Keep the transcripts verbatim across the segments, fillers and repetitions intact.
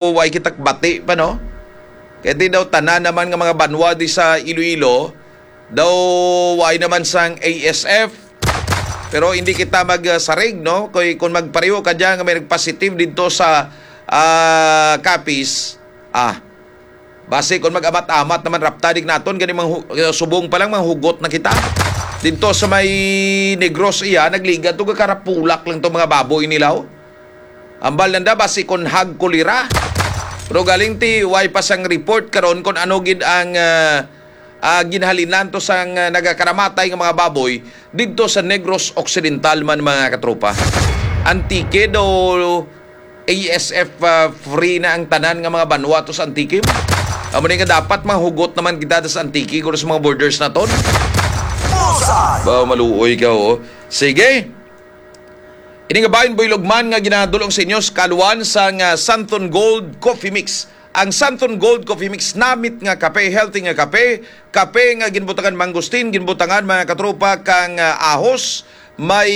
way kita bati pa, no? Kay di daw tanan naman nga mga banwa di sa Iloilo, daw way naman sang A S F. Pero hindi kita magsarig, no? Kay kung magpareho ka dyan nga may nagpositive dito sa, ah, Capiz, ah, basi kung mag-amat-amat naman raptadig naton, gani manghu-, subong pa lang manghugot na kita. Dito sa may Negros iya, nagliga to, karapulak lang to mga baboy nila, oh. Ambal nanda, basi kon hag kolera. Pero galing ti, way pa sang report karon kon ano gid ang, ah, ah, ginhalinan to sang, ah, nagakaramatay nga mga baboy didto sa Negros Occidental man, mga katropa. Antique daw, A S F, ah, free na ang tanan nga mga banwa to sa Antique. Amo ni nga dapat mahugot naman kita sa Antique, kung sa mga borders naton. Bullseye! Ba, maluoy ka, oh. Sige. Ini nga bahin, Boy Lugman, nga ginadulong sa inyo sa kaluan sang, ah, Santon Gold Coffee Mix. Ang Santon Gold Coffee Mix, namit nga kape, healthy nga kape, kape nga ginbutangan mangustin, ginbutangan, mga katropa, kang, ah, ahos, may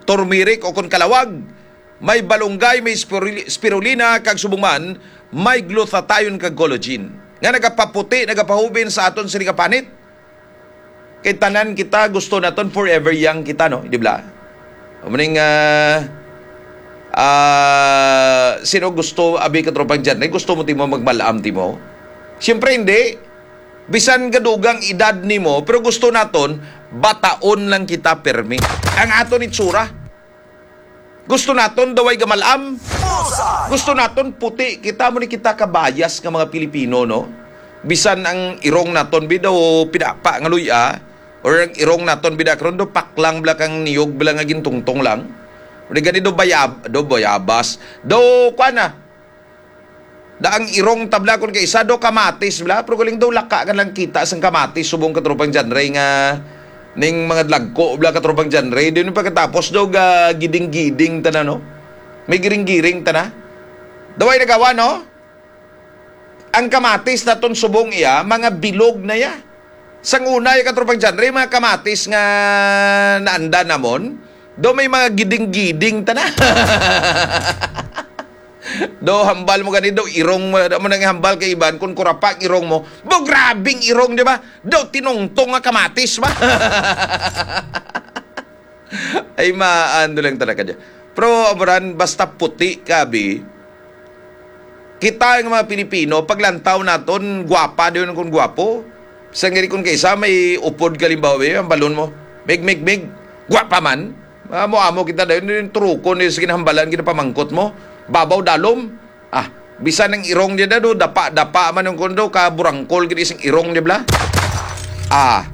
turmeric o kon kalawag, may balunggay, may spiruli-, spirulina, kag subong man, may glutathione kag collagen nga nagapaputi, nagapahubin sa aton sini nga panit. Kay tanan kita gusto naton forever young kita, no? Di ba? Amo ning, ah, ah, sino gusto, abi, katropang John Ray, gusto mo timo magmalam timo? Siyempre hindi. Bisan gadugang edad nimo, pero gusto naton bataon lang kita permi. Ang aton itsura. Gusto naton daway gamalam. Bullseye! Gusto naton puti. Kita mo ni kita kabayas nga mga Pilipino, no? Bisan ang irong naton, bi, daw pinapa nga luya, or ang irong naton, bi, da karon do paklang bala kang niyog bala nga gintungtong lang. O di gani do bayab-, do bayabas. Do, kuan na. Da ang irong tabla kon kay isa do kamatis bla, pero galing daw laka ka lang kita sang kamatis subong katropang John Ray nga ning mga dlagko bla katropang John Ray. Din pagkatapos daw ga giding-giding tana, no? May giring-giring tana. Daway nagawa, no? Ang kamatis naton subong iya, mga bilog na ya. Sang una, ya katropang John Ray, mga kamatis nga naanda namon, do may mga giding-giding tana. Do, hambal mo gani, do, irong mo, do mo nang hambal kay iban, kung kurapa ang irong mo, bo, grabing irong, di ba? Do, tinungtong nga kamatis ba? Ay, maan, do lang talaga dyan. Pero, amuran, basta puti ka, bi. Kita nga mga Pilipino, paglantaw naton, gwapa, di yun kung gwapo. Sa ngiri kung kaisa, may upod, kalimbawa, eh, ang balon mo, mig, mig, mig, gwapa man. Amo-amo kita dayon, yung truko ni sa ginahambalan, ginapamangkot mo. Babaw dalom. Ah, bisan ang irong niya na do, dapa-dapa man ang kondo, ka burangkol gid isang irong niya bla. Ah,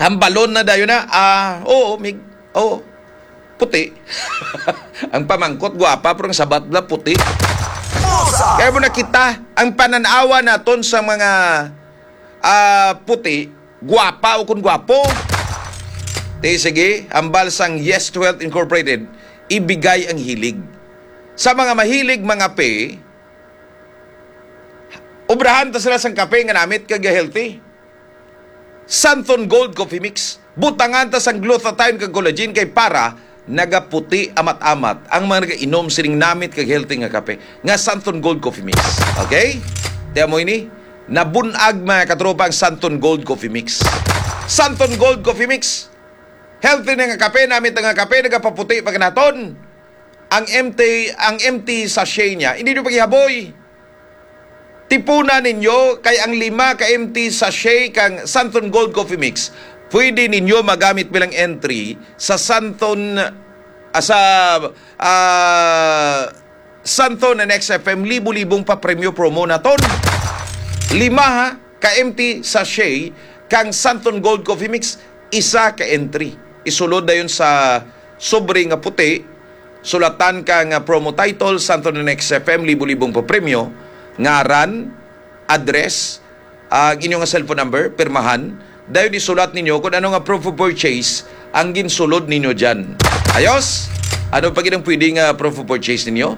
hambalon na dayon na. Ah, oo, mig, oo. Puti. Ang pamangkot, gwapa, pero ang sabat bla, puti. Kaya mo nakita, ang pananawa naton sa mga, ah, puti, gwapa o kung gwapo. Ti, sige, hambal sang Yes to Health Incorporated, ibigay ang hilig. Sa mga mahilig mangape, obrahan ta sila sang kape nga namit kag healthy. Santon Gold Coffee Mix. Butangan ta sang glutathione kag collagen kay para nagaputi amat-amat ang mga nagainom sining namit kag healthy nga kape nga Santon Gold Coffee Mix. Okay? Tiyan mo ini. Nabunag, mga katropa, ang Santon Gold Coffee Mix. Santon Gold Coffee Mix. Healthy na nga kape, namit na nga kape, nagapaputi pa naton. Ang empty, ang empty sachet niya, hindi nyo paghihaboy. Tipuna ninyo kay ang lima ka empty sachet kang Santon Gold Coffee Mix, pwede ninyo magamit bilang entry sa Santon, ah, sa, ah, Santon and X F M libo-libong pa premyo promo naton. Lima, ha, ka empty sachet kang Santon Gold Coffee Mix, isa ka entry. Isulod dayon sa sobre nga puti, sulatan ka nga promo title, Santon and X F M, libo-libong pa premyo, ngaran, address, ang inyo nga cellphone number, pirmahan, dayon isulat ninyo kung ano nga proof of purchase ang ginsulod ninyo dyan. Ayos? Ano pa gid ang pwede nga proof of purchase ninyo?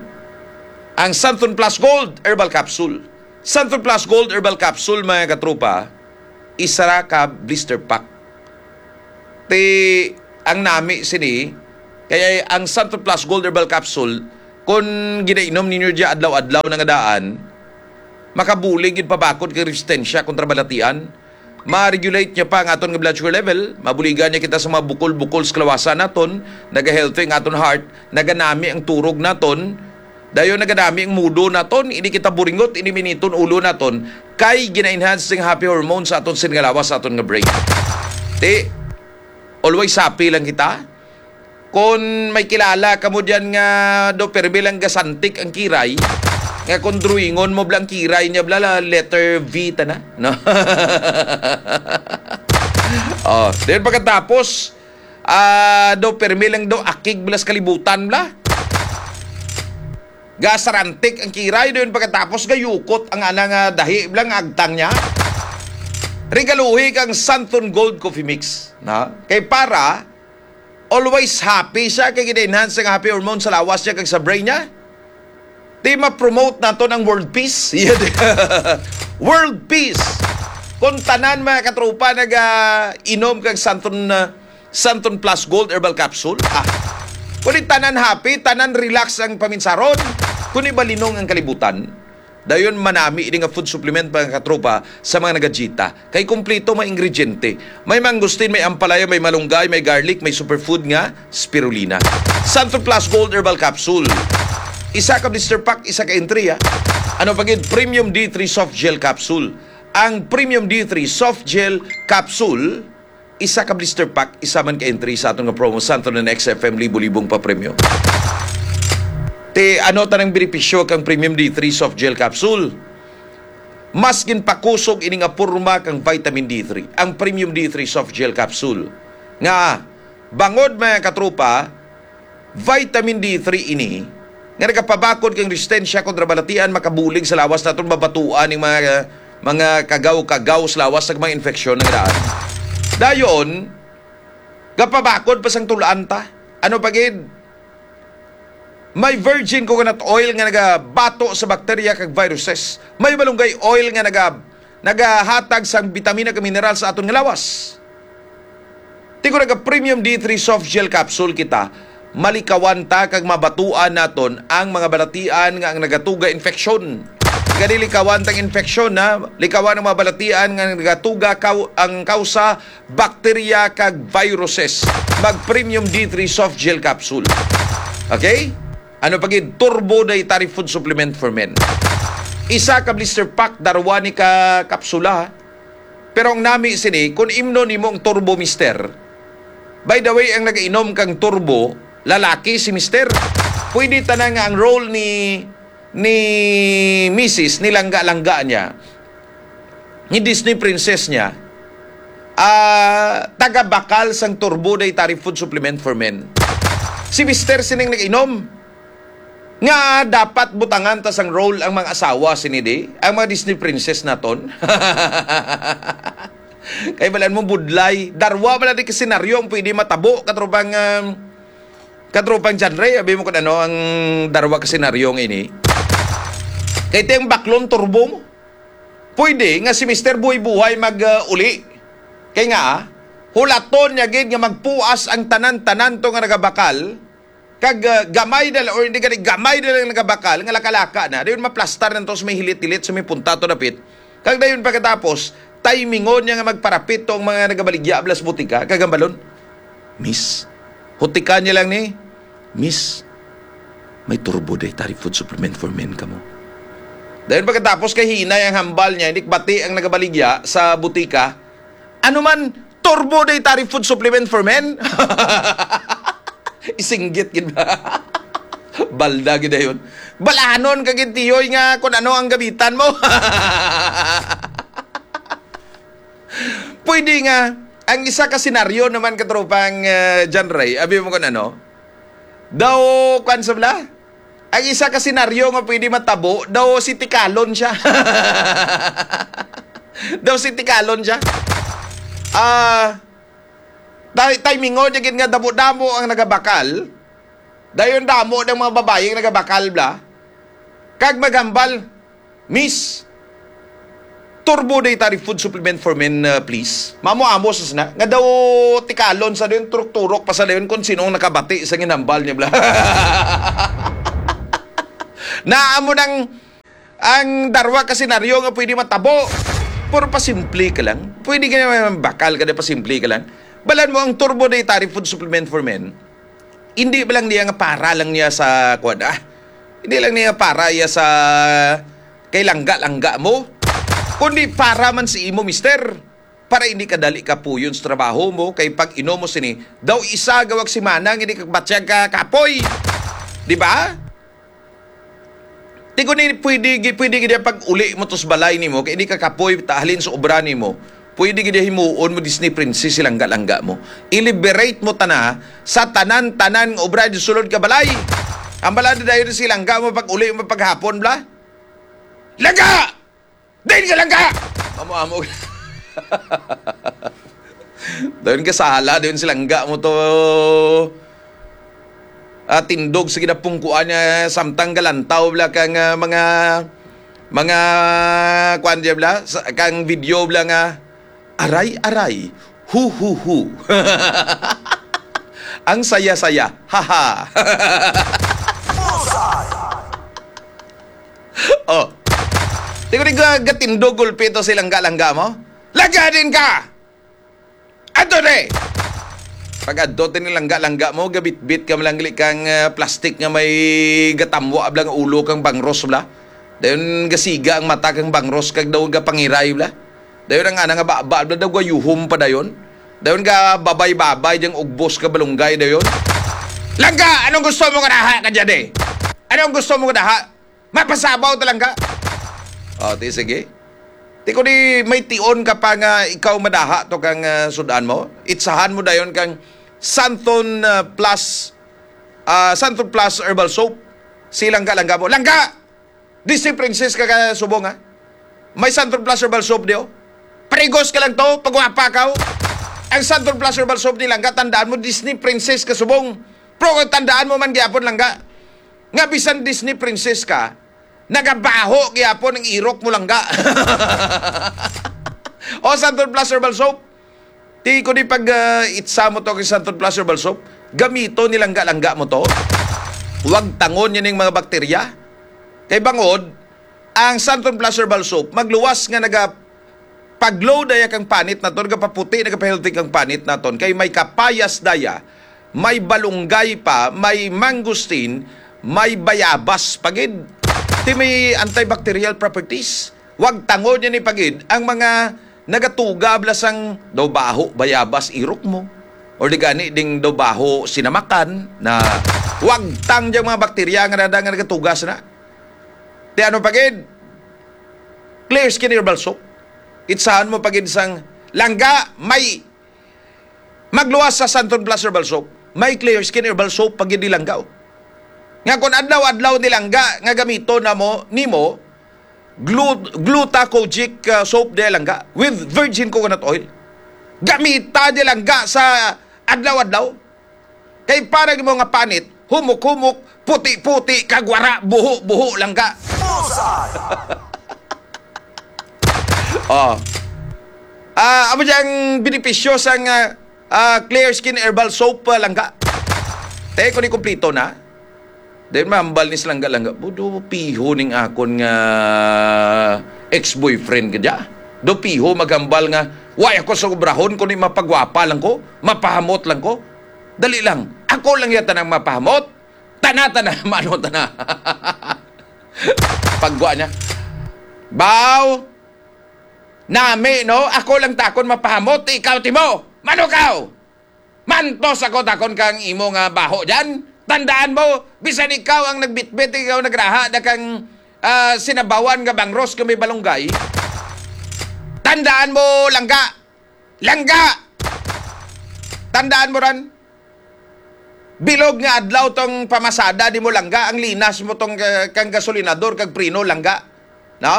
Ang Santon Plus Gold Herbal Capsule. Santon Plus Gold Herbal Capsule, mga katropa, isa ra ka blister pack. Ti, ang nami sini, kaya ang Santon Plus Gold Herbal Capsule, Kon ginainom ninyo dya adlaw-adlaw na nga daan, makabulig gid pabakod kay resistensya kontra balatian. Ma-regulate niya pa ang aton nga blood sugar level. Mabuligan niya kita sa mga bukol-bukol sa kalawasan naton. Naga-healthy ang aton heart. Naganami ang turog naton. Dayon naganami ang mudo naton. Hindi kita buringot, hindi miniton ulo naton. Kay gina-enhance sing happy hormone sa aton sini nga lawas, sa aton nga brain. Ti, always happy lang kita. Kon may kilala kamo diyan nga do permi lang gasantik ang kiray, nga kon drawingon mo bla ang kiray niya bla, la, letter V ta na, no? Oh, then pagkatapos, ah, do permi lang do akig bla sa kalibutan bla. Gasarantik ang kiray, dayon pagkatapos gayukot ang ana nga dahi bla nga agtang niya. Regaluhi kang Santon Gold Coffee Mix, na? Kay para always happy siya, kay gina-enhance ang happy hormone sa lawas niya kag sa brain niya. Di ma-promote naton ang world peace. World peace. Kung tanan, mga katropa, naga-inom kag Santon, uh, Santon Plus Gold Herbal Capsule, ah, kung di tanan happy, tanan relax ang paminsaron, kung ibalinong ang kalibutan. Dayon manami ini nga food supplement, mga katropa, sa mga nagajita. Kay kumpleto may ingrediente. May mangustin, may ampalaya, may malunggay, may garlic, may superfood nga spirulina. Santon Plus Gold Herbal Capsule. Isa ka blister pack, isa ka entry, ah. Ano pa gid? Premium D three Soft Gel Capsule. Ang Premium D three Soft Gel Capsule, isa ka blister pack, isa man ka entry sa aton nga promo, Santon and X F M, libo-libong papremyo. Ti, ano tanang benepisyo kang Premium D three Soft Gel Capsule? Mas ginpakusog ini nga porma kang vitamin D three, ang Premium D three Soft Gel Capsule. Nga, bangod, mga katropa, vitamin D three ini nga nagapabakod kang resistensya kontra balatian, makabulig sa lawas naton, mabatuan ning mga, mga kagaw-kagaw sa lawas sa mga infeksyon nga daan. Dayon, gapabakod pa sang tul-an ta. Ano pa gid? May virgin coconut oil nga nagabato sa bakterya kag viruses. May malunggay oil nga naga-, nagahatag sang bitamina kag mineral sa aton nga lawas. Ti kon naga Premium D three Soft Gel Capsule kita, malikawan ta kag mabatuan naton ang mga balatian nga ang nagatuga infeksyon. Gani likawan tang infeksyon, ha? Likawan ang mga balatian nga nagatuga kaw-, ang kausa bakterya kag viruses. Mag Premium D three Soft Gel Capsule. Okay? Ano pa gid? Turbo Dietary Food Supplement for Men. Isa ka blister pack, darwa ni ka kapsula, ha? Pero ang nami sini, kung imnon nimo ang Turbo Mister, by the way, ang nagainom kang Turbo, lalaki si Mister. Pwede tanan nga ang role ni, ni Misis, ni langga-langga niya, ni Disney princess niya, ah, taga-bakal sang Turbo Dietary Food Supplement for Men. Si Mister sining nag-inom. Nga dapat butangan ta sang role ang mga asawa sini di, ang mga Disney princess naton. Kay balan mo budlay, darwa man di ka senaryo ang pwede matabo, katropang, um, katropang John Ray, abi mo kun ano ang darwa ka senaryo nga ini. Kay ti ang baklon turbo mo. Pwede nga si Mister buhay-buhay mag, uh, uli. Kay nga, hulaton niya gid nga magpuas ang tanan-tanan to nga nagabakal, kag, uh, gamay na lang, or hindi gani, gamay na lang nagabakal nga laka-laka na. Dayon maplastar na to sa may hilit-hilit, sa may punta to dapit. Kag dayon pagkatapos, timingon niya nga magparapit to ang mga nagabaligya blas butika, kag hambalon, "Miss, hutikan niya lang ni, Miss, may Turbo Dietary Food Supplement for Men kamo." Dayon pagkatapos kay hinay ang hambal niya, hindi bati ang nagabaligya sa butika, "Ano man, Turbo Dietary Food Supplement for Men?" Isinggit gid ba? Balda gid dayon. Balanon ka gid, tiyoy, nga kung ano ang gamitan mo. Pwede nga, ang isa ka senaryo naman, katropang, eh, John Ray, abi mo kung ano, daw, kwan sa bala? Ang isa ka senaryo nga pwede matabo, daw si Tikalon siya. Daw si Tikalon siya. Ah, tay-, timingon niya gid nga damo-damo ang nagabakal. Dayon damo ng mga babae ang nagabakal bla. Kag maghambal, "Miss, Turbo Dietary Food Supplement for Men, uh, please." Mamo-amo sa sina. Nga daw tikalon sa dayon, turok-turok pa sa dayon kung sino ang nakabati sa ginhambal niya bla. Naa mo nang ang darwa ka senaryo nga pwede matabo. Pero pasimple ka lang. Pwede ka naman bakal ka na pasimple ka lang. Balan mo ang Turbo Dietary Food Supplement for Men. Hindi ba lang niya nga para lang niya sa, kuwan, ah? Hindi lang niya para iya sa kay langga-langga mo. Kundi para man si imo, mister. Para hindi ka dali kapuyon sa trabaho mo, kay pag inom mo sini, daw isa gawag simana nga hindi ka batyag ka kapoy. Di ba? Ti kung ni pwede, gi-, pwede gid pag uli mo to sa balay nimo, kay hindi ka kapoy, ta halin sa obra nimo, pwede gid himuon mo Disney princess si langga-langga mo. I-liberate mo tana sa tanan-tanan nga obra di sulod ka balay. Ang balada dayon si langga mo pag uli mo paghapon, bla? Langga! Din ka langga! Amo-amo. Dayon ka sala, dayon si langga mo to. Ah, tindog sa ginapungkuan niya, samtang galantaw bla kang, ah, mga, mga, kuan diya bla, sa, kang video bla nga, "Aray, aray, hu, hu, hu." Ang saya-saya, haha. Oh. Di ko di ga-, gatindog gulpi to si langga-langga mo. Langga din ka! Adto de! Pag adto din ni langga-langga mo, gabitbit ka malangli kang, ah, plastic nga may gatamwa bla nga ulo kang bangros bla. Dayon gasiga ang mata kang bangros kag daw gapangiray bla. Dayon ang ana nga baba bla daw gayuhom pa dayon. Dayon gababay-babay diyang ugbos ka balunggay dayon. Langga, anong gusto mo nga daha ka dyan eh? Anong gusto mo nga daha? Mapasabaw ta langga. O, ti, sige. Ti, kung di may tion ka pa nga ikaw madaha to kang, ah, sud-an mo, itsahan mo dayon kang Santon, ah, Plus, ah, Santon Plus Herbal Soap. Si langga-langga mo. Langga! Disney princess ka ka subong, ha? May Santon Plus Herbal Soap di, oh. Parigos ka lang to, pagwapa ka, oh. Ang Santon Plus Herbal Soap ni langga, tandaan mo, Disney princess ka subong. Pero kung tandaan mo man gyapon langga, nga bisan Disney princess ka, nagabaho gyapon ang irok mo langga. O, Santon Plus Herbal Soap. Ti ko di pag, ah, itsa mo to kay Santon Plus Herbal Soap, gamito ni langga-langga mo to. Wag tangon yun yung mga bakterya. Kay bangod, ang Santon Plus Herbal Soap, magluwas nga naga pag-glow daya kang panit naton, nagapaputi, nagapahealthy kang panit naton. Kay may kapayas daya, may balunggay pa, may mangosteen, may bayabas pa gid. Ti may antibacterial properties. Wag tangon niya ni pagid ang mga nagatuga bla sang daw baho, bayabas, irok mo. Or di gani ding daw baho, sinamakan, na wag tang diyang mga bakterya nga nada nga nagatugas na. Ti ano pagid? Clear Skin Herbal Soap. Itsahan mo pagid sang langga, may magluwas sa Santon Plus Herbal Soap. May Clear Skin Herbal Soap pagid ni langga, oh. Nga kung adlaw-adlaw ni langga nga gamiton na mo, nimo, glu-, glutacogic, uh, soap di langga with virgin coconut oil. Gamita di langga sa adlaw-adlaw. Kay para mo nga panit, humok-humok, puti-puti, kag wara, buho-buho langga. Bullseye! Oh. Ah, amo diyang benepisyo sang, ah, ah, Clear Skin Herbal Soap, ah, langga. Te, kung di kompleto na. Then mahambal ni sa langga-langga, "Budo piho ning akon nga ex-boyfriend ka dya. Do piho maghambal nga, wa ako sa obrahon, kundi mapagwapa lang ko, mapahamot lang ko. Dali lang, ako lang yata nang mapahamot. Tana, tana, mano, tana." Pagwa niya, "Baw, nami, no? Ako lang takon mapahamot, ikaw, timo. Mano kaw? Mantos ako takon kang imo nga baho dyan. Tandaan mo, bisan ikaw ang nagbitbit, ikaw nagraha na kang, ah, sinabawan nga bangros nga may balunggay. Tandaan mo, langga. Langga! Tandaan mo ran. Bilog nga adlaw tong pamasada di mo langga, ang linas mo tong, ah, kang gasolinador, kag preno langga. No?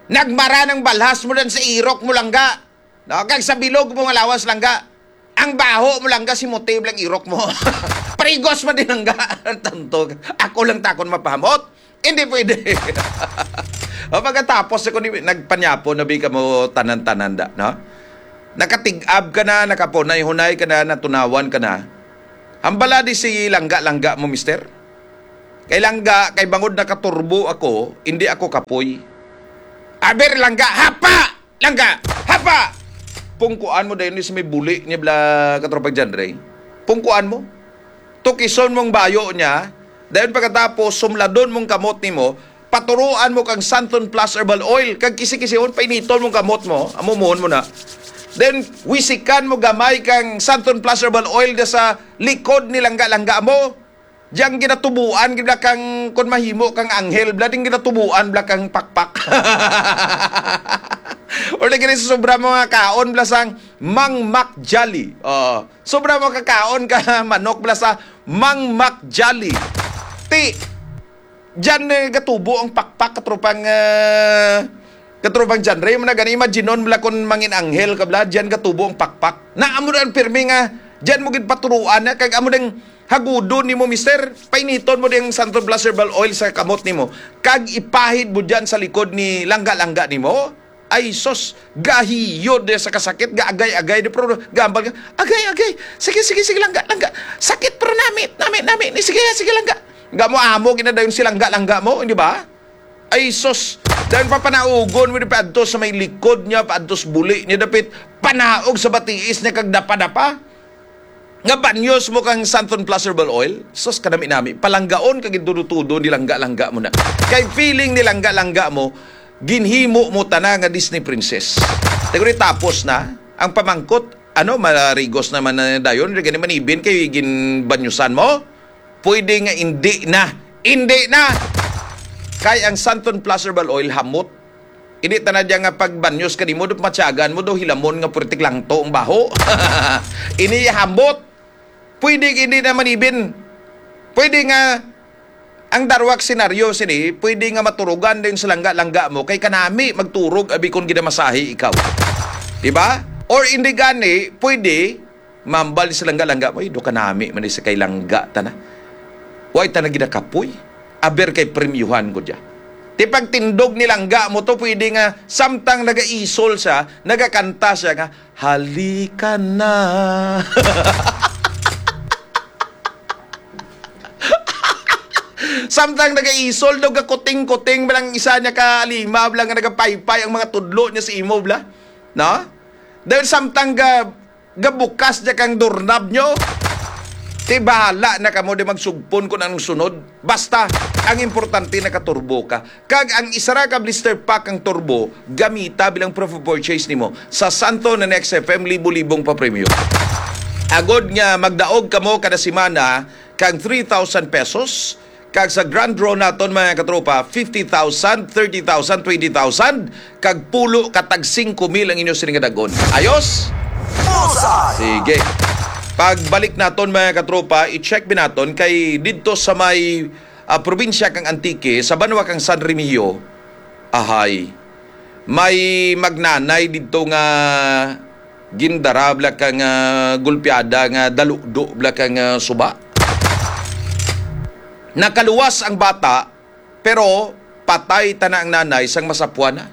Nagmara ng balhas mo dan sa irok mo langga. No? Kag sa bilog mo nga lawas langga. Ang baho mo langga, si motive lang irok mo. Parigos man din langga. Tanto. Ako lang takon mapahamot. Hindi pwede. O, pagkatapos ako ni, nagpanyapo na bi kamo tanan-tanan da, no? Nakatig-ab ka na, nakapunay-hunay ka na, natunawan ka na. Hambala di si langga-langga mo, mister. Kay langga, kay bangod nakaturbo ako, hindi ako kapoy. Aber, langga, hapa! Langga, hapa! Pungkuan mo dayon ni sa may buli niya bla, katropang John Ray. Pungkuan mo. Tukison mong bayo niya. Dayon pagkatapos, sumladon mong kamot nimo, paturuan mo kang Santon Plus Herbal Oil, kag kisi-kisihon, painiton mong kamot mo, amumuhon mo na. Then, wisikan mo gamay kang Santon Plus Herbal Oil da sa likod ni langga-langga mo. Diyang ginatubuan, gid bla kang, kun mahimo kang anghel, bla ding ginatubuan, bla kang pakpak. Or lagi rin sa sobra mo nga kaon, bla sang Mang Mac Jolly. Oh, sobra mo kakaon ka manok, bla sa Mang Mac Jolly. Ti, diyan, eh, gatubo ang pakpak, katropang, ah, katropang John Ray. Mo na gani, imagine-on, bla, kun mangin anghel ka, bla, diyan gatubo ang pakpak. Na amo na ang pirmi nga, diyan mo gid paturuan na, kag amo ding hagudon nimo, mister. Painiton mo ding Santon Plus Herbal Oil sa kamot nimo. Kag ipahid mo diyan sa likod ni langga-langga nimo. Ay, sus, gahiyod di sa kasakit, gaagay-agay di, pero gambal ka, "Agay, agay, sige, sige, sige, langga, langga, sakit, pero nami, nami, nami, ni, sige, sige, langga." Nga mo amo, ginadayon si langga, langga mo, di ba? Ay, sus, dahil papanaugon mo di paadto sa may likod niya, paadto sa buli niya, dapit panaog sa batiis niya, kag dapa-dapa. Nga banyos mo kang Santon Plus Herbal Oil, sus, kanami-nami, palanggaon kag gintudo-tudo ni langga-langga mo na. Kay feeling ni langga-langga mo, ginhimo mo tana nga Disney princess. Taguri tapos na ang pamangkot, ano, marigos naman na dayon, di gani manibin kay ginbanyusan mo? Pwede nga hindi na. Hindi na! Kay ang Santon Plus Herbal Oil, hamot. Ini tana diya nga pagbanyos ka nimo, do matyagan mo, do hilamon nga purtik langto ang baho. Ini hamot. Pwede hindi na manibin. Pwede nga ang darwak senaryo sini, pwede nga maturugan din sa langga-langga mo, kay kanami magturog abi kon ginamasahe ikaw. Di ba? Or hindi gani, pwede mambal sa langga-langga mo, "Ay, do kanami man ni sa kay langga ta na. Way ta na ginakapoy. Aber kay premyuhan ko dya." Ti pagtindog ni langga mo to, pwede nga samtang nagaisol siya, nagakanta siya nga, "Halika na." Samtang nagaisol daw, gakuting-kuting bala ang isa niya ka lima, bala nga nagapaypay ang mga tudlo niya sa imo, bala. No? Dahil samtang ga, gabukas niya kang doorknob nyo, ti bahala na kamo di magsugpon kung anong sunod. Basta, ang importante nakaturbo ka. Kag ang isa ra ka blister pack ang turbo, gamita bilang proof of purchase nimo sa Santo na Next F M libo-libong papremyo. Agod nga magdaog kamo kada semana kang three thousand pesos, kag sa grand draw naton, mga katropa, fifty thousand, thirty thousand, twenty thousand, kag pulo ka tag singko mil ang inyo sini nga dagon. Ayos? Bullseye! Sige. Pagbalik naton, mga katropa, i-check bi naton kay didto sa may, ah, probinsya kang Antique, sa banwa kang San Remigio, ahay, may magnanay didto nga gindara bala kang, ah, gulpiada nga daludo bala kang, ah, suba. Nakaluwas ang bata, pero patay tana ang nanay sang masapwan na.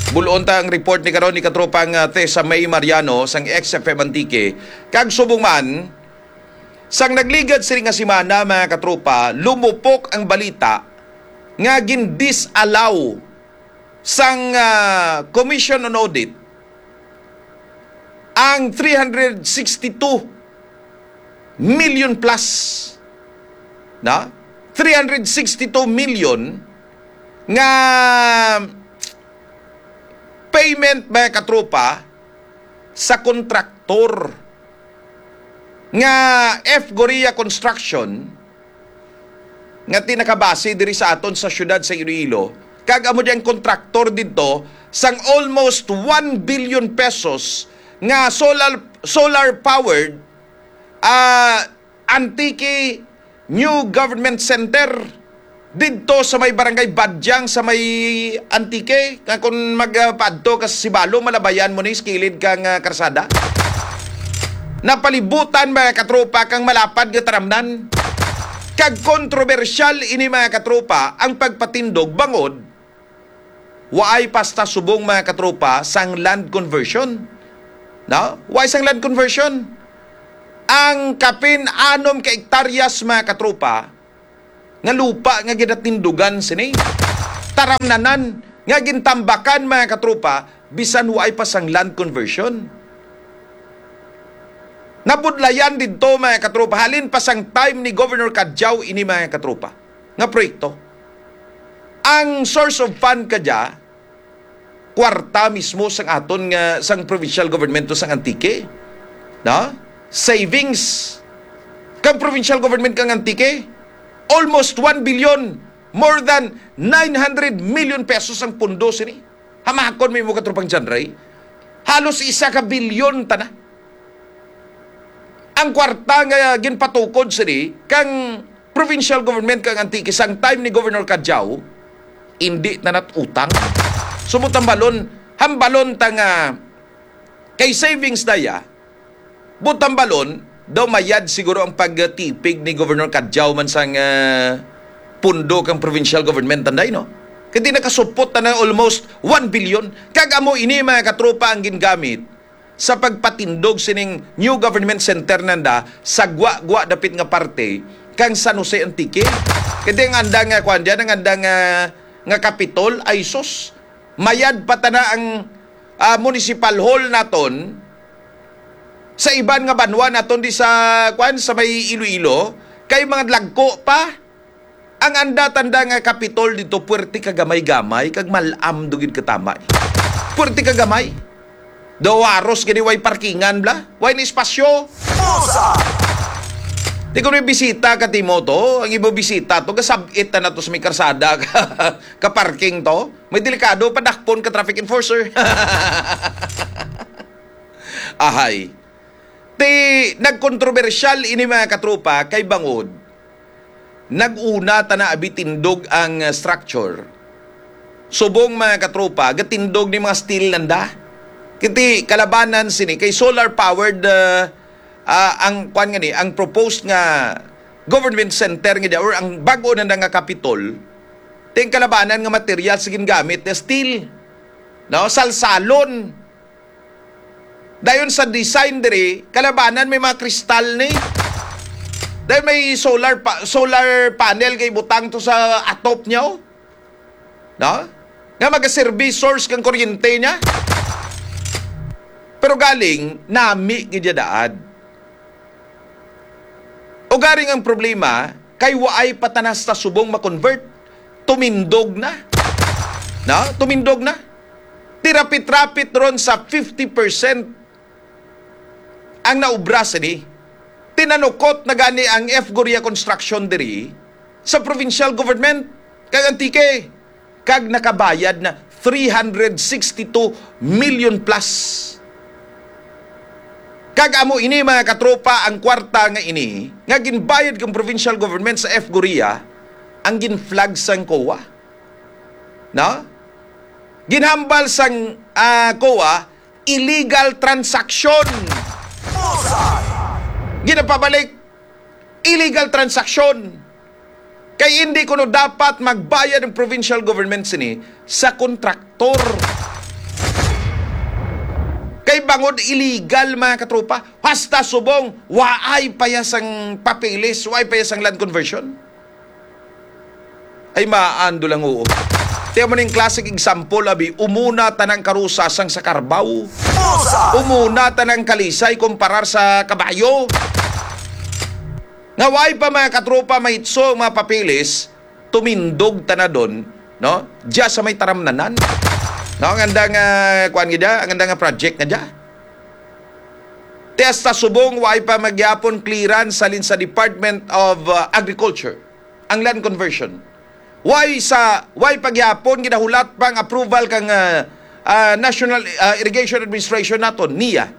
Bulon ta ang report ni karon ni katropang, ah, Tessa May Mariano sang X F M Antique. Kag subong man, sang nagligad sini nga semana, mga katropa, lumupok ang balita nga gin-disallow sang, ah, Commission on Audit ang three hundred sixty-two million plus, na? Three hundred sixty-two million nga payment, mga katropa, sa kontraktor nga F Goria Construction, nga tinakabase diri sa aton sa siyudad sa Iloilo, kag amo diyang kontraktor didto sang almost one billion pesos nga solar, solar powered, ah, Antique New Government Center didto sa may barangay Badyang sa may Antique, nga kung magpaadto ka sa Sibalom, malabayan mo ni sa kilid kang, ah, karsada. Napalibutan, mga katropa, kang malapad nga taramnan. Kag kontrobersyal ini, mga katropa, ang pagpatindog bangod waay pasta subong, mga katropa, sang land conversion. No? Waay sang land conversion. Ang kapin anom ka ektaryas, mga katropa, nga lupa nga ginatindugan sini. Taramnanan nga gintambakan, mga katropa, bisan waay pa sang land conversion. Nabudlayan didto, mga katropa, halin pa sang time ni Governor Cadiao ini, mga katropa, nga proyekto. Ang source of fund kadya, kwarta mismo sang aton nga, sang provincial government to sang Antique. No? Savings kang provincial government kang Antique, almost one billion, more than nine hundred million pesos ang pundo sini. Hamakon mo, katropang John Ray. Halos isa ka bilyon tana. Ang kwarta nga ginpatukod sini kang provincial government kang Antique sang time ni Governor Cadiao, indi na nat utang. So, butambalon, hambalon ta nga kay savings daya, butambalon, daw mayad siguro ang pagtipig ni Governor Cadiao man sang, ah, pundo kang provincial government, anday, no? Kay di nakasupot na, na almost one billion. Kag amo ini, mga katropa, ang gingamit sa pagpatindog sining new government center nanda sa gwa-gwa dapit nga parte kang San Jose, Antique. Kay ang anda nga, kuwan dyan, ang anda nga, nga kapitol, ay sus, mayad pa tana ang, ah, municipal hall naton sa iban nga banwa naton di sa, kuwan, sa may Iloilo, kay mga lagko pa. Ang anda tanda nga kapitol dito, puwerte ka gamay-gamay, kag malam do gid katama. Puwerte ka gamay. Daw haros gani way parkingan bla, way na espasyo. Pusa! Di ko may bisita ka, Timo, to. Ang ibo bisita to, gasabit na to sa may karsada ka, ka parking to. May delikado, padakpon ka traffic enforcer. Ahay. Ti, nagkontrobersyal ini, mga katropa, kay bangod nag-una ta na abi tindog ang, uh, structure. Subong, mga katropa, gatindog ni mga steel nanda. Kiti kalabanan sini kay solar powered, uh, uh, ang kwan nga ni, ang proposed nga government center nga diya, or ang bago na nga Capitol. Ting kalabanan nga material sa gingamit na steel. No, salsalon. Dayon sa design diri, kalabanan may mga kristal ni. Dayon may solar pa, solar panel kay butang to sa atop niya, oh. No? Nga magaserbi source kang kuryente niya. Pero galing, nami gid ya daad. Ugaring ang problema, kay waay pa tanan sa subong ma-convert. Tumindog na. No? Tumindog na. Tirapit-rapit ron sa fifty percent ang naubra sini. Tinanukot na gani ang F Goria Construction diri sa provincial government kag Antique, kag nakabayad na three hundred sixty-two million plus. Kag amo ini, mga katropa, ang kwarta nga ini nga ginbayad kang provincial government sa F Goria ang ginflag sang COA. No? Ginhambal sang, ah, COA, illegal transaction. Ginapabalik, illegal transaction. Kay hindi kuno dapat magbayad ang provincial government sini sa kontraktor. Kay bangod illegal, mga katropa, hasta subong, waay pa ya sang papeles, waay pa ya sang land conversion. Ay, maando lang, oo. Tiyan mo ning classic example, abi, umuna tanang karusasang sa karbaw. Umuna tanang kalisay kumparar sa kabayo. Nga way pa, mga katropa, mahitso ang mga papeles, tumindog tanadon, no? Diya sa may taramnanan. No, ang andang, ah, kuwan nga diya, ang andang, ah, project nga diya. Ti hasta subong, way pa magyapon clearance halin sa Department of, ah, Agriculture ang land conversion. Way sa, way pagyapon ginahulat pang approval kang, ah, ah, National, ah, Irrigation Administration naton, NIA.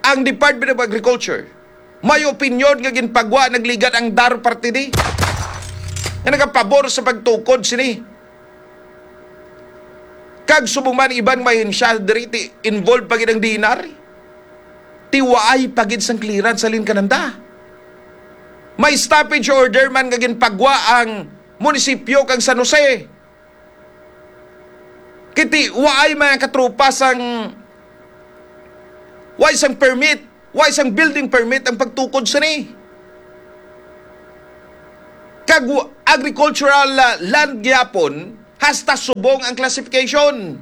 Ang Department of Agriculture, may opinyon nga ginpagwa nagligad ang DAR parte di. Nga nagapabor sa pagtukod sini. Kag subong man iban may ahensya diri ti involved pa gid ang DENR. Ti waay pa gid sang clearance halin kananda. May stoppage order man nga ginpagwa ang munisipyo kang San Jose. Kiti waay, mga katropa, sang, waay sang permit, waay sang building permit ang pagtukod sini. Kag wa-, agricultural, ah, land gyapon, hasta subong ang classification.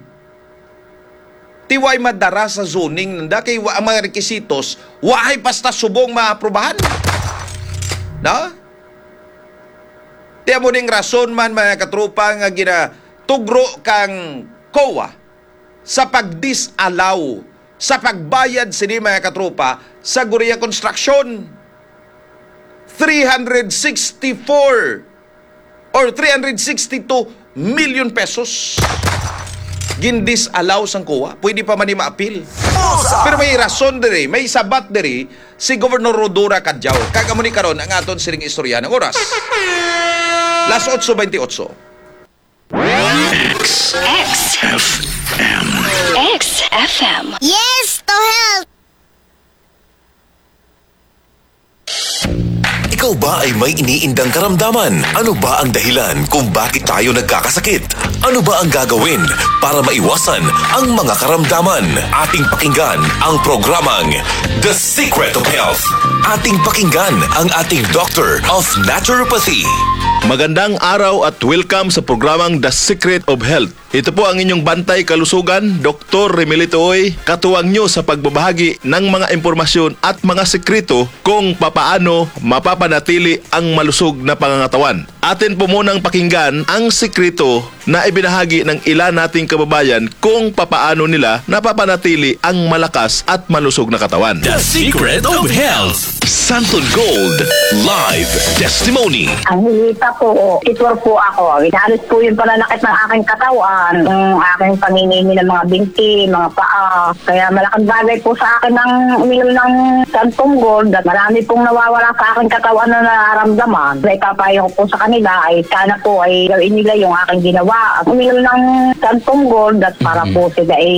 Ti way madara sa zoning nanda kay wa, ang mga requisitos, wa hay basta subong maaprubahan. No? Ti amo ning rason man, mga katropa, nga ginatugro kang COA sa pag-disallow sa pagbayad sini, mga katropa, sa Gorea Construction. Three hundred sixty-four or three hundred sixty-two million pesos. Gin-disallow sang COA. Pwede pa man ni maapil. Pero may rason diri, may sabat diri si Governor Rhodora Cadiao. Kag amo ni karon ang aton sining istorya ng oras. Las otso bentiocho. X. X. F M. X F M. Yes to health! Ikaw ba ay may iniindang karamdaman? Ano ba ang dahilan kung bakit tayo nagkakasakit? Ano ba ang gagawin para maiwasan ang mga karamdaman? Ating pakinggan ang programang The Secret of Health. Ating pakinggan ang ating Doctor of Naturopathy. Magandang araw at welcome sa programang The Secret of Health. Ito po ang inyong bantay kalusugan, Doktor Remelito Uy, katuwang nyo sa pagbabahagi ng mga impormasyon at mga sekreto kung papaano mapapanatili ang malusog na pangangatawan. Atin po munang pakinggan ang sekreto na ibinahagi ng ilan nating kababayan kung papaano nila napapanatili ang malakas at malusog na katawan. The Secret of Health. Santon Gold Live Testimony. Ang hilita po, titor po ako. Inalis po yung pananakit ng aking katawan, yung aking panginginim ng mga binti, mga paa. Kaya malaking bagay po sa akin ang uminom ng Santon Gold at marami pong nawawala sa aking katawan na nararamdaman. May papayo ko po sa kanila ay sana po ay gawin nila yung aking ginawa. Uminom ng Santon Gold at para po sila ay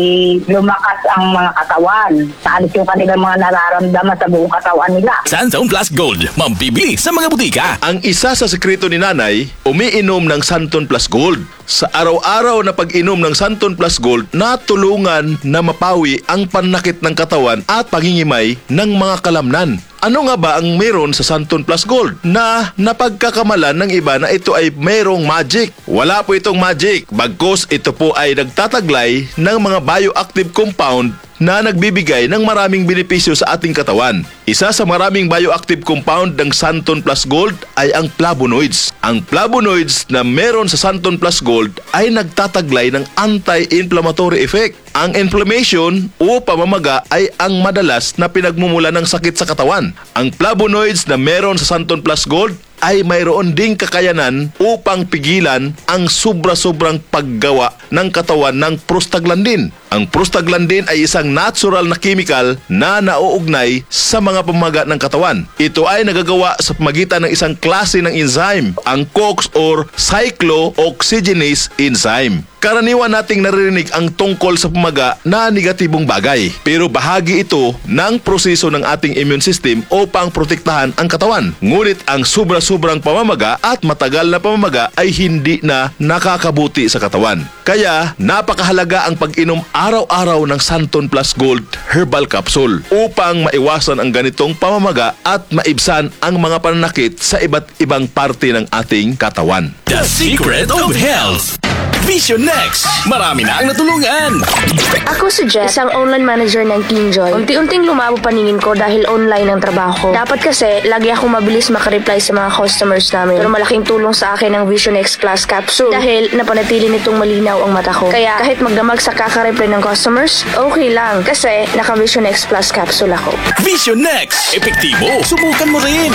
lumakas ang mga katawan. Naalis yung kanilang mga nararamdaman sa buong katawan nila. Santon Plus Gold, mabibili sa mga butika. Ang isa sa sekreto ni Nanay, umiinom ng Santon Plus Gold. Sa araw-araw na pag-inom ng Santon Plus Gold, natulungan na mapawi ang panakit ng katawan at pangingimay ng mga kalamnan. Ano nga ba ang meron sa Santon Plus Gold na napagkakamalan ng iba na ito ay merong magic? Wala po itong magic, bagkus ito po ay nagtataglay ng mga bioactive compound na nagbibigay ng maraming benepisyo sa ating katawan. Isa sa maraming bioactive compound ng Santon Plus Gold ay ang flavonoids. Ang flavonoids na meron sa Santon Plus Gold ay nagtataglay ng anti-inflammatory effect. Ang inflammation o pamamaga ay ang madalas na pinagmumula ng sakit sa katawan. Ang flavonoids na meron sa Santon Plus Gold ay mayroon ding kakayanan upang pigilan ang sobra-sobrang paggawa ng katawan ng prostaglandin. Ang prostaglandin ay isang natural na chemical na nauugnay sa mga pamaga ng katawan. Ito ay nagagawa sa pamagitan ng isang klase ng enzyme, ang COX or cyclooxygenase enzyme. Karaniwan nating naririnig ang tungkol sa pamaga na negatibong bagay, pero bahagi ito ng proseso ng ating immune system upang protektahan ang katawan. Ngunit ang sobra-sobrang pamamaga at matagal na pamamaga ay hindi na nakakabuti sa katawan. Kaya, napakahalaga ang pag-inom araw-araw ng Santon Plus Gold Herbal Capsule upang maiwasan ang ganitong pamamaga at maibsan ang mga pananakit sa iba't ibang parte ng ating katawan. The Secret of Health. Vision X. Marami na ang natulungan. Ako si Jess, isang online manager ng Kinjoy. Unti-unting lumabo paningin ko dahil online ang trabaho ko. Dapat kasi, lagi akong mabilis makareply sa mga customers namin. Pero malaking tulong sa akin ang Vision X Plus Capsule dahil napanatili nitong malinaw ang mata ko. Kaya kahit magdamag sa kakareply ng customers, okay lang kasi naka Vision X Plus Capsule ako. Vision X. Epektibo. Subukan mo rin.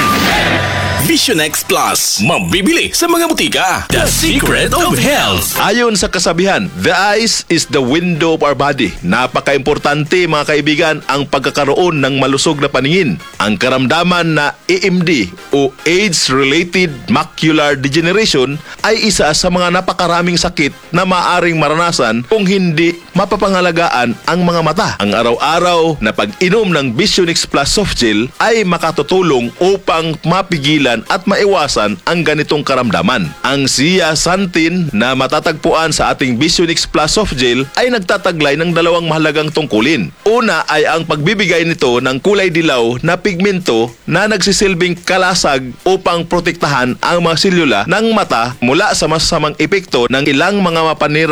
Vision X Plus. Mabibili sa mga butika. The Secret of Health. Ayon sa kasabihan, the eyes is the window of our body. Napakaimportante, mga kaibigan, ang pagkakaroon ng malusog na paningin. Ang karamdaman na A M D o age-related macular degeneration ay isa sa mga napakaraming sakit na maaring maranasan kung hindi mapapangalagaan ang mga mata. Ang araw-araw na pag-inom ng Visionix Plus Soft Gel ay makatutulong upang mapigilan at maiwasan ang ganitong karamdaman. Ang zeaxanthin na matatagpuan sa ating Visionix Plus Soft Gel ay nagtataglay ng dalawang mahalagang tungkulin. Una ay ang pagbibigay nito ng kulay dilaw na pigmento na nagsisilbing kalasag upang protektahan ang mga selula ng mata mula sa masasamang epekto ng ilang mga mapanira